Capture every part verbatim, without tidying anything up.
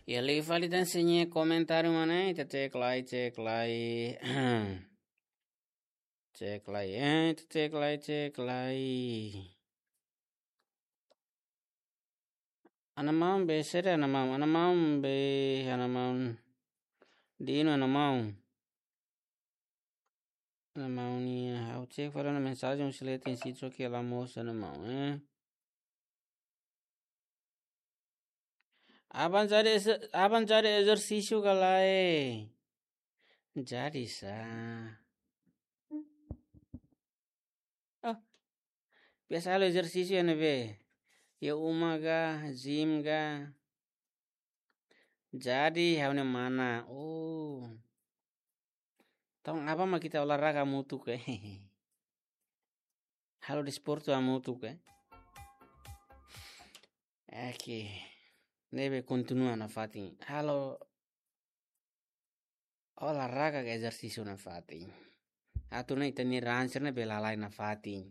Iha liu fali tan sira-nia komentáriu mak ne'e, ita cek lai, cek lai. Cek lai, eh, ita cek lai, cek lai. Ana maun be, sede ana maun, ana maun be, ana maun. Dino ana maun. Ana maun nian, ha'u cek fali ona mensajen husi leten sira só ke la mós ana maun, eh. Aban jadi eze-, aban jadi ezersísiu ka lae? Jadi sa. Oh, biasa halo ezersísiu iha ne'ebé? Iha uma ka, gym ka? Jadi, ha'u-nia mana. Oh. Entaun, aban mak ita olahraga hamutuk, eh. Halo desportu hamutuk, eh. Oke. Ne'ebé kontinua nafatin. Halo olahraga ka ezersísiu nafatin. Atu nune'e ita-nia raan sira-ne'e bele halai nafatin.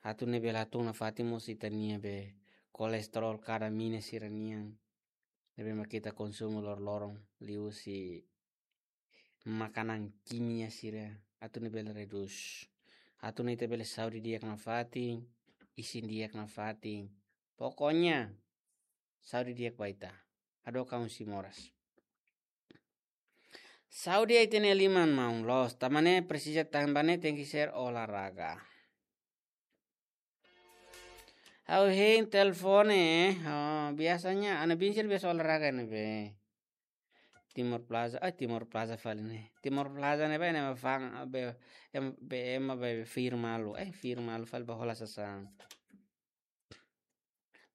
Atu nune'e bele hatún nafatin mós ita-nia be kolesterol ka damina sira-nian. Ne'ebé mak ita konsumu loroloron liuhusi makanan kimia sira. Atu nune'e bele redús. Atu nune'e ita bele saúde di'ak nafatin, isin di'ak nafatin. Pokoknya, saúde di'ak ba ita. Hadook an husi moras. Saúde ita-nia liman maun loos. Tanba ne'e presiza tanba ne'e tenke ser olahraga. Ha'u hein telefone, eh. Oh, biasanya ana biin sira biasa olahraga ne'ebé? Timor Plaza, ah, Timor Plaza fali ne'e. Timor Plaza ne'ebé ne'e fa'an, ah, be, em, be, ema be fir malu. Eh, fir malu fali ba hola sasán.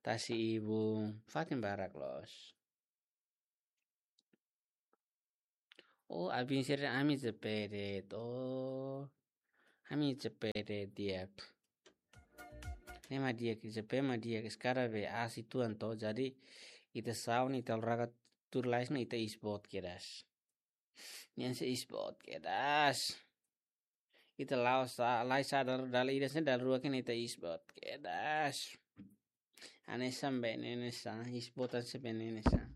Tasi Ibun, fatin barak loos. Oh, abin sira ami J P de'it. Oh, ami J P de'it di'ak. Ne'e mak di'ak, J P mak di'ak. Sekarang be asi tuan to. Jadi, ita saun, ita olahraga tuur lais, ne'e ita isboot kedas. Nian se isboot kedas. Ita la'o sa, lai sa dala, dala ida se dala rua ke ne'e ita isboot kedas. Hanesan be ne'e hanesan, isboot hanesan be ne'e hanesan.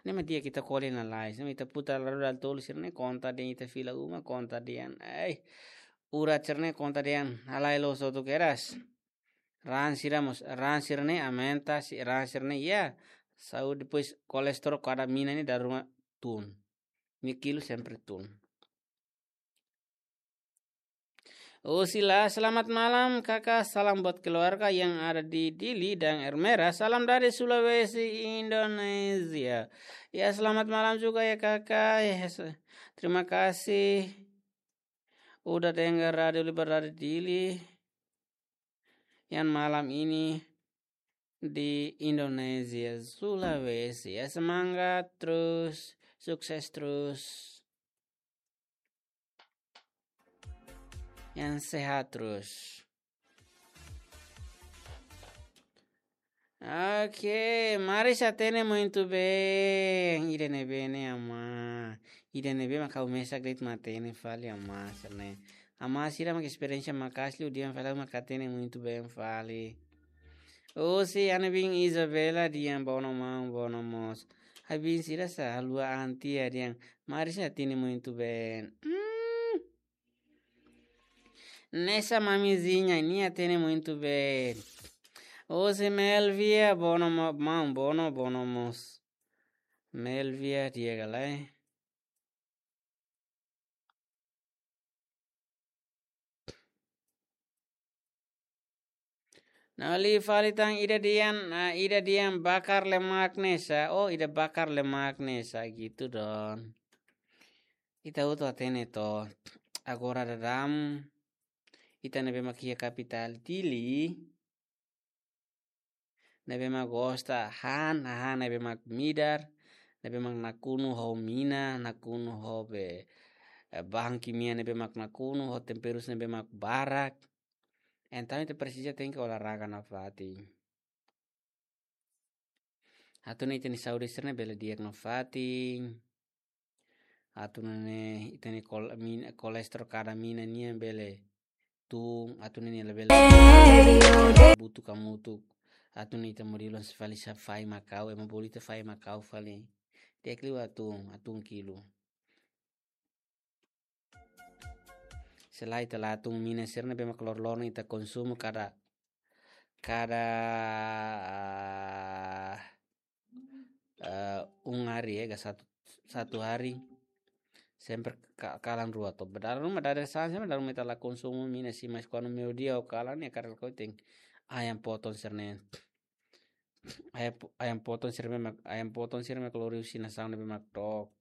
Ne'e mak di'ak ita kole lalais, ne'e mak ita putar dala rua dala tolu sira-ne'e konta dehan ita fila uma, konta dehan. Ai, urat sira-ne'e konta dehan, halai loos hotu kedas. Raan sira mós, raan sira-ne'e aumenta, si raan sira-ne'e iha. Saúde, depois kolesterol ka damina ne'e dala ruma tun. Nia kilu sempre tun. Oh, Sila, selamat malam, Kakak. Salam buat keluarga yang ada di Dili dan Ermera. Salam dari Sulawesi, Indonesia. Ya, selamat malam juga ya, Kakak. Ya, se-, terima kasih udah dengar Radio Libertari Dili yang malam ini di Indonesia, Sulawesi. Ya, semangat terus, sukses terus. Yang sehat terus. Oke, Marisa hatene muito bem. Ida ne'ebé ne'e, amá? Ida ne'ebé mak ha'u mesak de'it mak hatene fali, amá, sira-ne'e. Amá sira mak esperiénsia maka'as liu, dehan fali mak hatene muito bem fali. Husi ana biin Isabela dehan bono maun, bono moos. Abin sira sá haluha an tiha dehan Marisa hatene muito bem. Hmm. Nessa mamizinha, nia hatene muito bem. Husi Melvia, bono mo-, maun, bono, bono moos. Melvia, di'ak ka lae? Nah, liu fali tan ida dehan, ah, ida dehan bakar lemak ne'e sá. Oh, ida bakar lemak ne'e sá gitu don. Ita hotu hatene to. Agora daudaun ita ne'ebé mak iha kapitál Dili, ne'ebé mak gosta han, han ne'ebé mak midar, ne'ebé mak nakonu ho mina, nakonu ho be, eh, bahan kimia ne'ebé mak nakonu, ho temperus ne'ebé mak barak. Entaun ita presiza tenke olahraga nafatin. Atu nune'e ita-nia saúde sira-ne'e bele di'ak nafatin. Atu nune'e ita-nia kol-, min-, kolesterol ka damina nian bele tun, atu nune'e labele butuh hamutuk. Atun ita mori lon se fali sa fai makau, ema bolu ita fai makau fali. Di'ak liu atun, atun kilu. Se lae ita la atun mina sira ne'ebé mak loroloron ita konsumu kada, kada, ah, eh, um hari, eh, ka satu, satu hari. Sempre ka-, kalan rua to'o. Ba dala ruma, dala rua sa'e, sempre dala ruma ita la konsumu mina sira, mas kuandu meiudia ou kalan ne'e karik ita tenke ayam potong sira-ne'e. Ayam po-, ayam potong sira-ne'e mak, ayam potong sira-ne'e mak lori husi nasaun ne'ebé mak dook.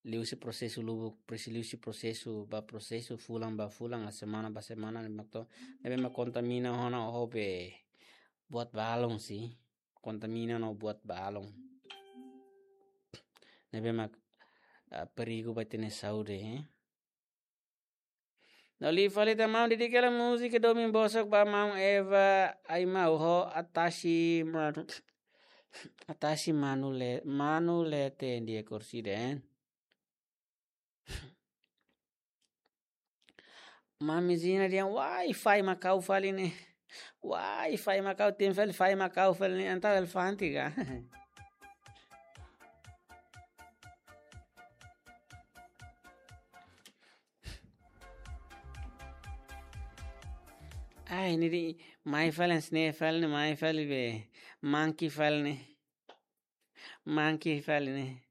Liuhusi prosesu lubuk, presi-, liuhusi prosesu, ba prosesu fulan ba fulan, semana ba semana, ne'ebé mak to'o, ne'ebé mak kontamina ona ho be buat balun sira. Kontamina no buat balun. Ne'ebé mak, ah, perigu ba ita-nia saúde, eh. No liu fali tan maun, dedika hela múzika domin bosok ba maun Eva Aimau ho Atashi Manu, Atashi Manu Le-, Manu Lete dia kursi den. Mami Zina dehan, wai fai makau fali ne'e. Wai fai makau, tenke fali fai makau fali ne'e, entaun elefante ka. Ai, ne'e de'it, mai fali, hanesan ne'e fali ne'e, mai fali be. Monkey fali ne'e. Monkey fali ne'e.